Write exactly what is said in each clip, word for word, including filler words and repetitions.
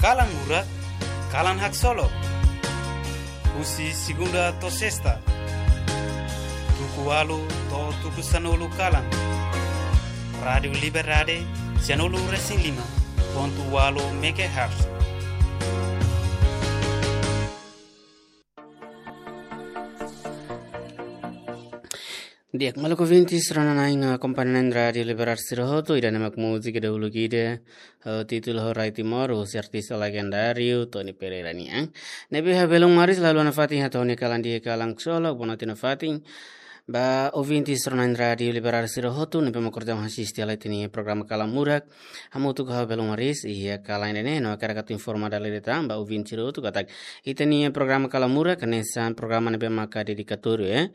Kalan Murak, kalan haksolok. Husi segunda to'o sesta, tuku ualu to'o tuku sanulu kalan. Rádiu Liberdade, sanulu resin lima pontu ualu megahertz. Di'ak, maluk ouvintes, rona-na'in akompaña Rádiu Liberdade sira hotu, ida-ne'e mak múzika dahuluk ida, eh, títulu Ho Rai Timor, husi artista legendáriu Tony Pereira nian. Ne'ebé ha'u belun Maris la haluha nafatin hato'o ha'u-nia kalan di'ak, kalan haksolok, boa noite nafatin ba ouvintes rona-na'in Rádiu Liberdade sira hotu, ne'ebé mak kordau asiste hela ita-nia programa Kalan Murak. Hamutuk ho ha'u belun Maris iha kalan ida-ne'e, no hakarak atu informa dala ida tan ba ouvinte sira hotu katak ita-nia programa Kalan Murak hanesan programa ne'ebé maka dedikatóriu, eh.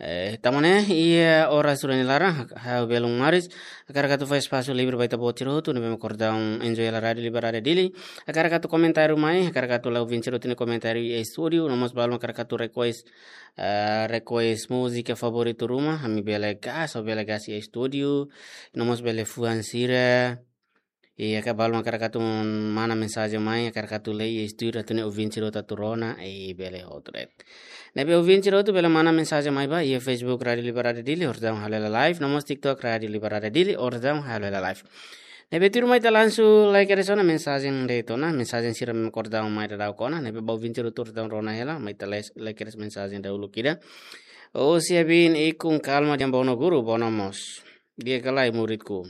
Eh, tanba ne'e, iha oras ohin nia laran, ha'u belun Maris hakarak atu fó espasu livre ba ita-boot sira hotu ne'ebé mak kordau enjoy hela Rádiu Liberdade Dili. Hakarak atu komentáriu mai, hakarak atu la'o ouvinte sira hotu nia komentáriu iha estúdiu, no mós balu mak hakarak atu request, eh, request múzika favoritu ruma, ami bele gás, ou bele gás iha estúdiu, no mós bele fuan sira. I hakarak balu mak hakarak atu mana mensajen mai, hakarak atu lee iha estúdiu, atu nune'e ouvinte sira hotu atu rona, i bele hotu de'it. Ne'ebé ouvinte sira hotu bele mana mensajen mai ba iha Facebook Rádiu Liberdade Dili, oras daudaun halo hela live, no mós TikTok Rádiu Liberdade Dili, oras daudaun halo hela live. Ne'ebé tuirmai ita langsung lai kedas ona mensajen de'it ona, mensajen sira mak kordau mai daudaun ona, ne'ebé ba ouvinte sira hotu oras daudaun rona hela, mai ita lai, lai kedas mensajen dahuluk ida. Husi Abin Ikun Kalma, Di'an Bono guru, bono mós. Di'ak ka lae muridku.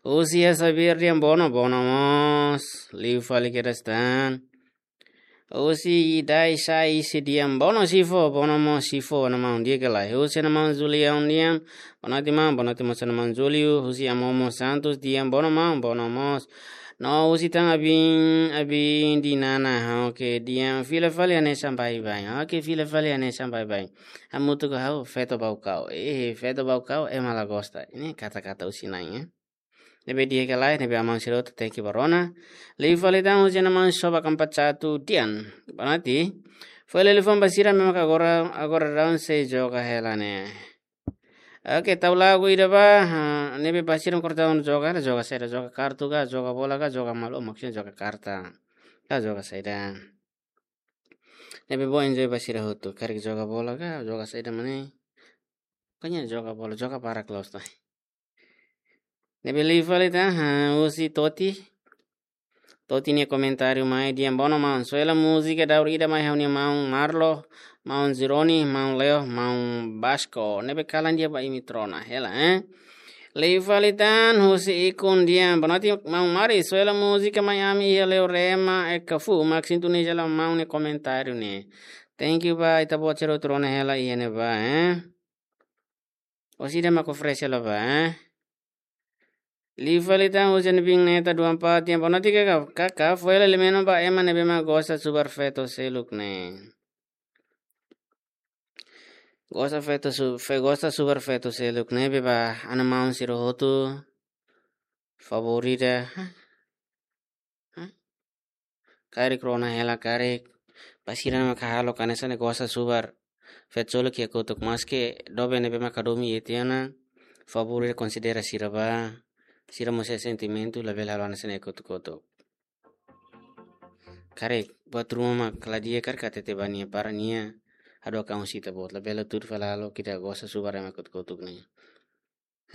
Husi Xavier, Di'an bono, bono mós. Liu fali kedas tan. Husi Idai Sai, Di'an bono, Sifo, bono mós, Sifo, ha'u-nia maun, di'ak ka lae. Husi ha'u-nia maun Julião nian, boa noite maun, boa noite mós ha'u-nia maun Julio. Husi Amomo Santos, Di'an bono maun, bono mós. No husi tan Abin, Abin Dinana, oke, Di'an fila fali hanesan baibain. Oke, fila fali hanesan baibain. Hamutuk ho ha'u, Feto Baucau. Eh, Feto Baucau, ema la gosta. Ne'e kata-kata husi na'in, eh. Ne'ebé di'ak ka lae, ne'ebé aman sira hotu, thank you ba rona. Liu fali tan husi ha'u-nia maun Soba Kampat Satu, Di'an. Boa noite. Fó hela liafuan ba sira ne'ebé maka agora, agora daudaun sei joga hela ne'e. Oke, tau lagu ida ba, ha, ne'ebé ba sira mak kordau joga, joga saida, joga kartu ka, joga bola ka, joga malu, maksudnya joga karta. Ka joga saida. Ne'ebé bele enjoy ba sira hotu, karik joga bola ka, joga saida mak ne'e. Pokoknya joga bola, joga barak loos tan. Ne'ebé liu fali tan, ha, husi Toti. Toti nia komentáriu mai, Di'an bono maun, soe hela múzika daur ida mai ha'u-nia maun Marlo, maun Zironi, maun Leo, maun Basko. Ne'ebé kalan di'ak ba imi atu rona hela, eh. Liu fali tan, husi Ikun Di'an, boa noite maun Maris, soe hela múzika mai ami iha Leorema, Ekafu, mak sintoniza hela maun nia komentáriu ne'e. Thank you ba ita-boot sira hotu rona hela iha ne'ebá, eh. Orsida mak oferese hela ba, eh. Liu fali tan husi Abin Neta dua empat, Di'an bono, di'ak ka, ka, ka, fó hela lemeno ba ema ne'ebé mak gosta subar feto seluk ne'e. Gosta feto su-, fe-, gosta subar feto seluk ne'ebé ba ha'u-nia maun sira hotu. Favorita. Hah? Hah? Karik rona hela karik. Ba sira ne'ebé maka halo hanesan ne'e gosta subar feto seluk iha kotuk, maske doben ne'ebé maka domin iha tiha ona. Favorita konsidera sira ba. Sira mós iha sentimentu, labele halo hanesan ne'e iha kotuk-kotuk. Karik, buat ruma mak la di'ak karik hatete ba nia para nia hadook an husi ita-boot, labele tudu fali halo ita gosta subar ema kotuk-kotuk ne'e.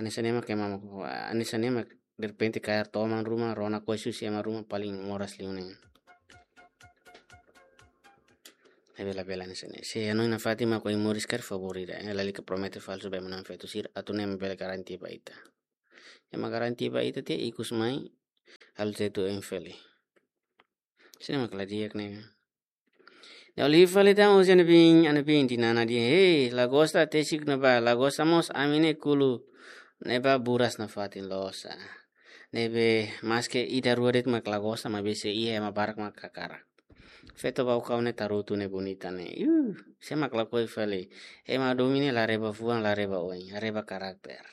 Hanesan ne'e mak ema mak, hanesan ne'e mak derrepente kaer toman ruma, rona koi susi ema ruma paling moras liu ne'e. Labele, labele hanesan ne'e. Se hanoin nafatin mak ohin moris karik favorita, eh, lalika promete falsu ba ema na'in feto sira, atu ne'e mak bele garantia ba ita. Ema garantia ba ita tiha ikus mai, halo tetu em feli. Sini mak la di'ak ne'e. Liu fali tan husi Abin, Abin Dinana dehan, hei, la gosta tesik ne'ebá, la gosta mós ami ne'e kulu ne'ebá buras nafatin loos. Ne'ebé maske ida rua de'it mak la gosta, maibé sei iha ema barak mak hakarak. Feto Baucau ne'e tarutu ne'e bonita ne'e. Yu, sé mak lakohi fali. Ema domin ne'e la reba fuan, la reba oin, reba karakter.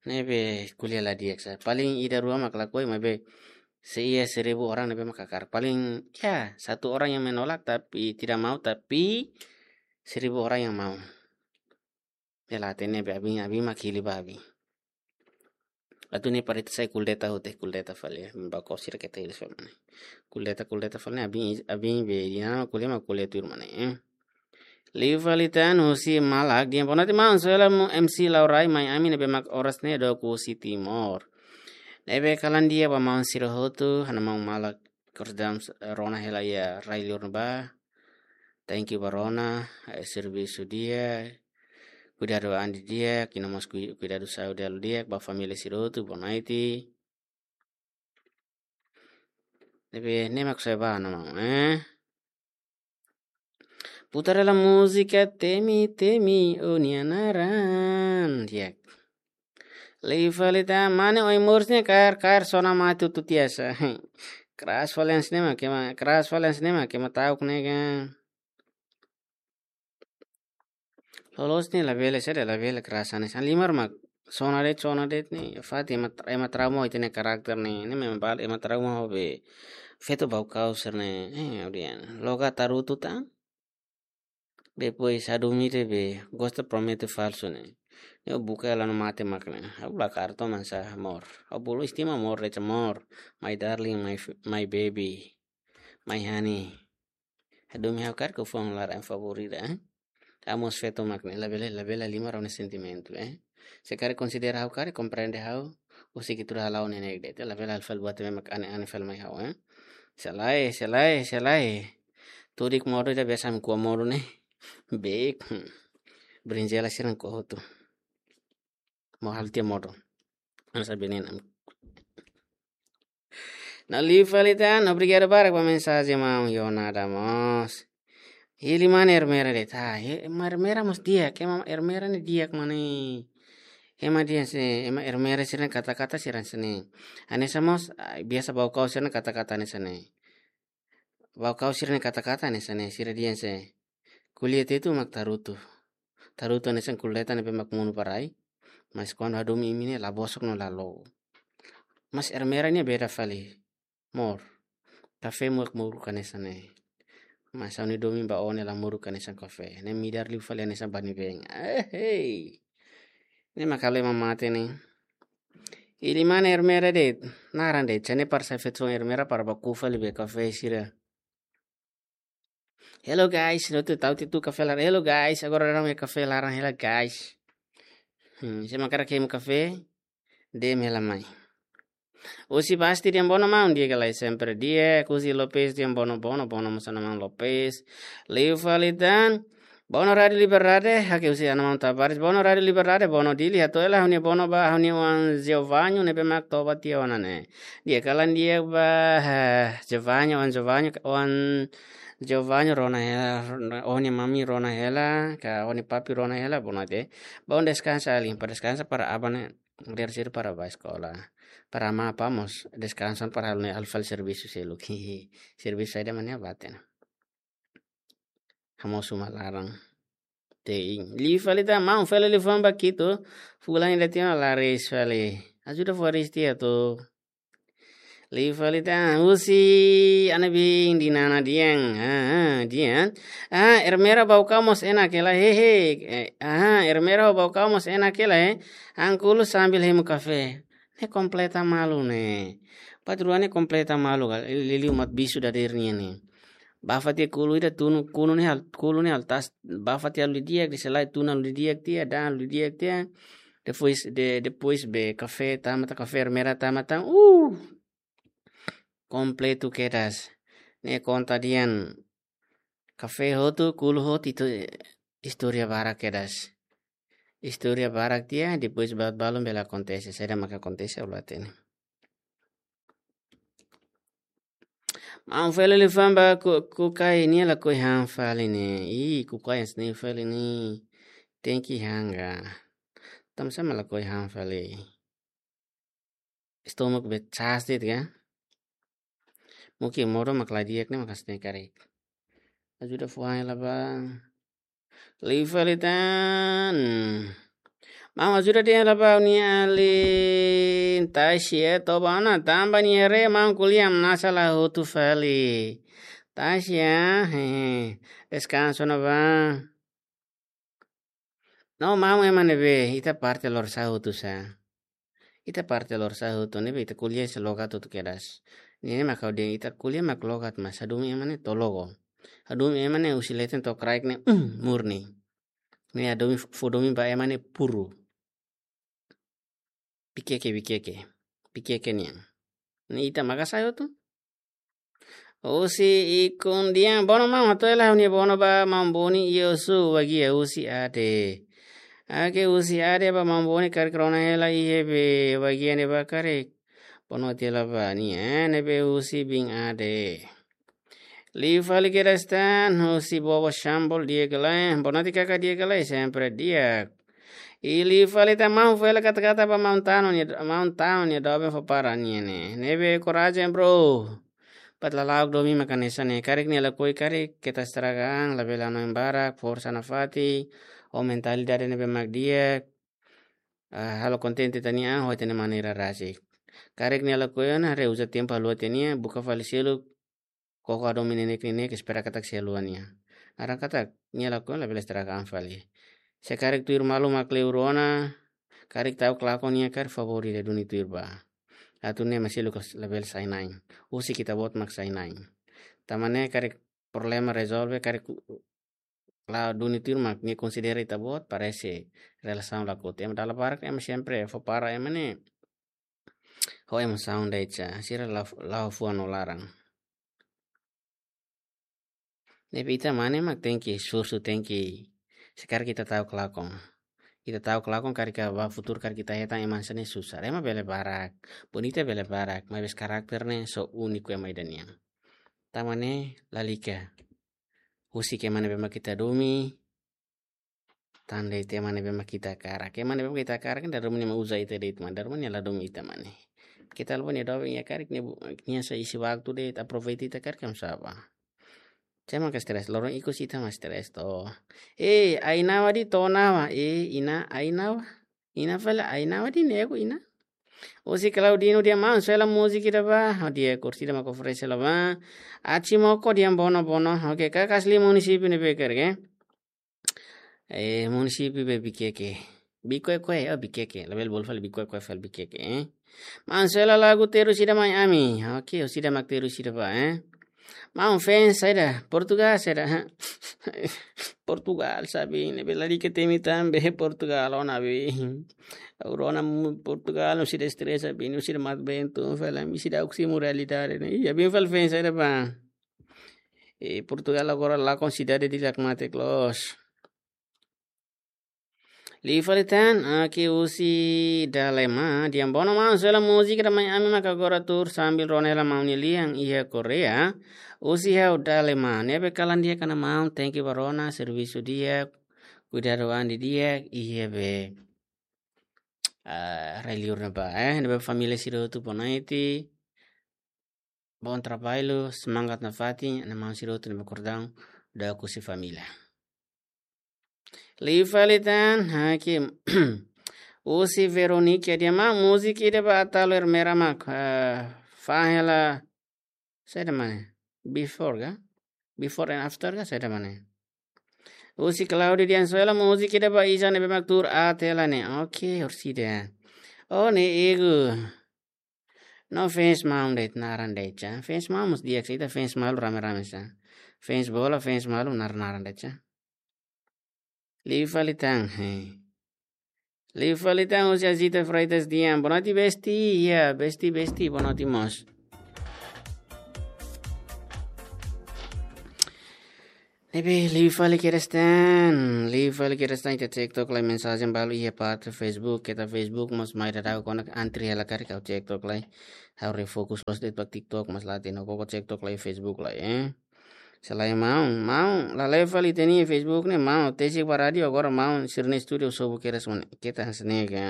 Ne'ebé ko'alia la di'ak sá. Paling ida rua mak lakohi, maibé se iha seribu orang ne'ebé mak hakarak. Paling, ya, satu orang yang menolak tapi tidak mau, tapi seribu orang yang mau. Bela hatene be Abin, Abin mak hili ba Abin. atu ne'e para ita sai kuldeta hotu, kuldeta fali, eh. Baukaus sira keta iris fali ne'e. Kuldeta, kuldeta fali ne'e, abin, abin be, di'ak, ko'alia mak ko'alia tuir mak ne'e, eh. Liu fali tan husi Malak, di'ak, boa noite maun, sou hela maun M C Laurai, mai ami ne'ebé mak oras ne'e dook husi Timor. Ne'ebé kalan di'ak ba maun sira hotu, ha'u-nia maun Malak, kordam, rona hela iha rai-li'ur ne'ebá. Thank you ba rona, eh, servisu di'ak, kuidadu an di'ak, iha mós kui-, kuidadu saúde halo di'ak, ba família sira hotu, boa noite. Ne'ebé, ne'e mak sai ba, no maun, eh. Putar hela múzika Temi Temi, o-nia naran. Di'ak. Liu fali tan, mane oi murs ne'e kaer, kaer sona mate tutu tiha sa. Keras fali hanesan ne'e mak ema, keras fali hanesan ne'e mak ema ta'uk ne'e ka. Loloos ne'e labele, sede labele keras hanesan ne'e. Halimar mak sona de'it, sona de'it ne'e. Fatin ema, ema trauma ho ita-nia karakter ne'e. Ne'e mak ema bal-, ema trauma ho be feto Baukaus sira-ne'e. Eh, audian. Loga tarutu tan. Depois hadomi de'it be gosta promete falsu ne'e. Ne'e buka hela no mate mak ne'e. Ha'u la karto mansa amor. Ha'u bolu estima amor, leca amor. My darling, my f-, my baby. My honey. Hadomi ha'u karik ho fuan laran favorita, eh. Ha'u mós feto mak ne'e, labele, labele halimar ha'u-nia sentimentu, eh. Se karik konsidera ha'u karik, komprende ha'u, husik ita-rua hala'o ne'e ne'e de'it, labele halo fali buat ne'ebé mak ane-ane fali mai ha'u, eh. Selae, selae, selae. Tudik modo ida biasa mi kua modo ne'e. Beik. Hmm. Brinjela sira-ne'e kua hotu. Mo halo tiha modo. Hanesan venenu. No liu fali tan, obrigadu barak ba mensajen maun, yo nada mós. Hili mane Ermera de'it, ah, he, ema Ermera mós di'ak, ema Ermera ne'e di'ak mane. Ema di'ak se, ema Ermera sira-nia kata-kata sira hanesan ne'e. Hanesan mós, ah, biasa Baukaus sira-nia kata-kata hanesan ne'e. Baukaus sira-nia kata-kata hanesan ne'e, sira dehan se. Ko'alia Tetun mak tarutu. Tarutu hanesan kuldeta ne'ebé mak monu ba rai. Mas kuandu hadomi imi ne'e la bosok no la loos. Mas Ermera ne'e beda fali. Mor. Kafé mak moruk hanesan ne'e. Mas ha'u-nia domin ba ó ne'e la moruk hanesan kafé. Ne'e midar liu fali hanesan bani-been. Eh, hei. Ne'e mak halo ema mate ne'e. Hili mane Ermera de'it, naran de'it, se ne'e para sai feto Ermera para bá ku'u fali be kafé sira. Hello guys, no tu tau titu kafé laran. Hello guys, agora daudaun iha kafé laran hela guys. Hmm, se mak hakarak hemu kafé, D M hela mai. Husi Basti dehan bono maun, di'ak ka lae, sempre di'ak. Husi Lopes dehan bono, bono, bono mós ha'u-nia maun Lopes. Liu fali tan. Bono Rádio Liberdade, hakilar husi ha'u-nia maun Tavares. Bono Rádio Liberdade, bono Dili, hato'o hela ha'u-nia bono ba ha'u-nia oan Giovanni ne'ebé mak toba tiha ona ne'e. Di'ak ka lae, di'ak ba, eh, Giovanni, oan Giovanni, oan Giovanni rona hela, rona, ó-nia mami rona hela, ka ó-nia papi rona hela, bono te. Bá deskansa alin, para deskansa para aban ne'e, di'ak sira para bá eskola. Para amá apá mós deskansa para halo ne'e, halo fali servisu seluk. Servisu saida mak ne'e bá tiha ona. Hamosu uma laran. Tein. Liu fali tan, maun, fali liafuan ba Quito. Fulan ida tiha ona laris fali. Ajuda fó aris tiha atu. Liu fali tan, husi ha'u-nia biin Dinana dehan. Ah, ah, dehan. Ah, Ermera Baukaus mós enak hela, hehe. Eh, ah, Ermera Baukaus mós enak hela, eh. Ha'u kulu sambil hemu kafé. Ne'e kompleta malu ne'e. Patroa ne'e kompleta malu ka. Liuliu mat bisu dadeer nian ne'e. Bá fatin kulu ida tunu, kunu ne'e hal-, kulu ne'e halo tasi, bá fatin halo didi'ak, depois lae tunu halo didi'ak tiha, da'an halo didi'ak tiha. Depois, de-, depois be kafé tama tan, kafé Ermera tama tan. Uh! Kompletu kedas. Ne'e konta dehan kafé hotu, kulu hotu, itu istória barak kedas. Istória barak tiha, depois ba-, balun bele akontese, saida maka akontese, ha'u la hatene. Maun, fali liafuan ba Ku-, Kukai, nia lakohi han fali ne'e. Ih, Kukai hanesan ne'e fali ne'e. Tenke han ka. Tanba sá mak lakohi han fali. Estómagu be sasá de'it ka. Mungkin modo mak la di'ak ne'e mak hanesan ne'e karik. Ajuda fó han hela ba. Liu fali tan. Maun, ajuda dehan hela ba ha'u-nia alin Tashi, eh, toba ona tanba nia haree maun ko'alia hamnasa la hotu fali. Tashi, ah, hehe. Deskansa ona bá. No, maun, ema ne'ebé, ita parte lorosa'e hotu sá. Ita parte lorosa'e hotu ne'ebé ita ko'alia sei logat hotu kedas. Ne'e mak ha'u dehan ita ko'alia mak logat, mas hadomi ema ne'e to'o logo. Hadomi ema ne'e husi leten to'o kraik ne'e, mm, murni. Ne'e hadomi, fó domin ba ema ne'e puru. Bikeke, bikeke. Bikeke nian. Ne'e ita maka sa'e hotu. Husi Ikun Dian, bono maun, hato'o hela ha'u-nia bono ba maun Boni, iha Osu, Baguia, husi Ade. Oke, husi Ade ba maun Boni, karik rona hela iha be Baguia ne'ebá karik. Bono tiha hela ba nia, eh, ne'ebé husi biin Ade. Liu fali kedas tan, husi Bobo Shambol, di'ak ka lae, bono tiha karik di'ak ka lae, sempre di'ak. I liu fali tan maun, fó hela kata-kata ba maun Tano nia, maun Tano nia doben fó para nia ne'e. Ne'ebé korajen, bro. Bat lala'ok domin mak hanesan ne'e. Karik nia lakohi karik, keta estraga an, labele hanoin barak, forsa nafatin, ho mentalidade ne'ebé mak di'ak. Ah, halo kontente ita-nia an, ho ita-nia maneira rasik. Karik nia lakohi ona, haree uza tempu haluha tiha nia, buka fali seluk, koko hadomi neineik-neineik, espera katak sei haluha nia. Naran katak nia lakohi labele estraga an fali. Se karik tuir malu mak kleur ona, karik ta'uk lakon nia karik favór ida duni tuir ba. Atu ne'e mak seluk labele sai-na'in. Husik ita-boot mak sai-na'in. Tanba ne'e karik problema rezolve, karik la'o duni tuir mak nia konsidera ita-boot, parese relasaun la kotu. Ema dala barak, ema sempre fó para ema ne'e. Ho emosaun de'it sa, sira la, la'o fuan no laran. Ne'ebé ita mane mak tenke esforsu, tenke, se karik ita ta'uk lakon. Ita ta'uk lakon karik ba futuru karik ita hetan ema hanesan ne'e susar. Ema bele barak, bonita bele barak, maibé karakter ne'e só úniku ema ida nian. Tanba ne'e lalika. Husik ema ne'ebé mak ita domin, tan de'it ema ne'ebé mak ita hakarak. Ema ne'ebé mak ita hakarak, dala ruma nia mak uza ita de'it mak, dala ruma nia la domin ita mane. Ita la bele domin nia karik, nia bu-, nia só isi waktu de'it, aproveita ita karik, kam saba. Ita mak stres, loron ikus ita mak stres to. Eh, ai-nawa de'it to'o nawa, eh, inan ai-nawa. Inan fali ai-nawa de'it ne'e ku inan. Husi Claudino dehan maun, soe hela múzika ida ba. Oh, di'ak, orsida mak oferese hela ba. Atsi Moko dehan bono, bono. Oke, karik asli munisípiu ne'ebé karik, eh? Eh, munisípiu be Bikeke. Bikeke, oh, Bikeke. Labele bolu fali Bikeke, fali Bikeke, eh? Maun, soe hela lagu terus ida mai ami. Oke, orsida mak terus ida ba, eh? Maun, fans saida, Portugal saida, ha? Portugal, sabe, ne'ebé lalika temi tan be Portugal ona be. Ha'u rona mu-, Portugal, orsida estresa be, orsida mat bentu, fala, orsida oximo realidade ne'e. Ya bin fal fans saida ba. Eh, Portugal agora la konsidera di lak mate close. Liu fali tan, oke, husi Dalema dehan bono maun, soe hela múzika ida mai ami mak agora tuur sambil rona hela maun nia lian iha Korea. Husi ha'u Dalema, ne'ebé kalan di'ak ona maun, thank you ba rona, servisu di'ak, kuidadu an didi'ak, iha be, ah, rai-liur ne'ebá, eh, ne'ebé família sira hotu bonaiti, bom trabalho, semangat nafatin, ana maun sira hotu ne'ebé kordang, doakan husi família. Liu fali tan, oke. Husi Veronica dehan maun, múzika ida ba Atalo Ermera mak, eh, fahe la, saida mane? Before ka? Before and after ka? Saida mane? Husi Claudio dehan soe hela múzika ida ba Isa ne'ebé mak tuur aat hela ne'e. Oke, orsida. Oh, ne'e ego. No fans maun de'it naran de'it sa. Fans maun mós di'ak sa, ita fans malu rame-rame sa. Fans bola, fans malu naran-naran de'it sa. Liu fali tan, he. Liu fali tan husi Azita Freitas dehan. Boa noite, besti. Ya, besti, besti. Boa noite mós. Ne'ebé liu fali kedas tan, liu fali kedas tan, ita TikTok lai mensajen balu iha parte Facebook, keta Facebook mós mai dadaun konak antri hela karik ha'u TikTok lai. Ha'u refokus loos de'it ba TikTok mós la hatene koko TikTok lai Facebook lai, eh. Selae maun, maun, la la'o fali ita-nia Facebook ne'e maun, tesi ba rádiu agora maun, sira-nia estúdiu sobu kedas mane, keta hanesan ne'e ka.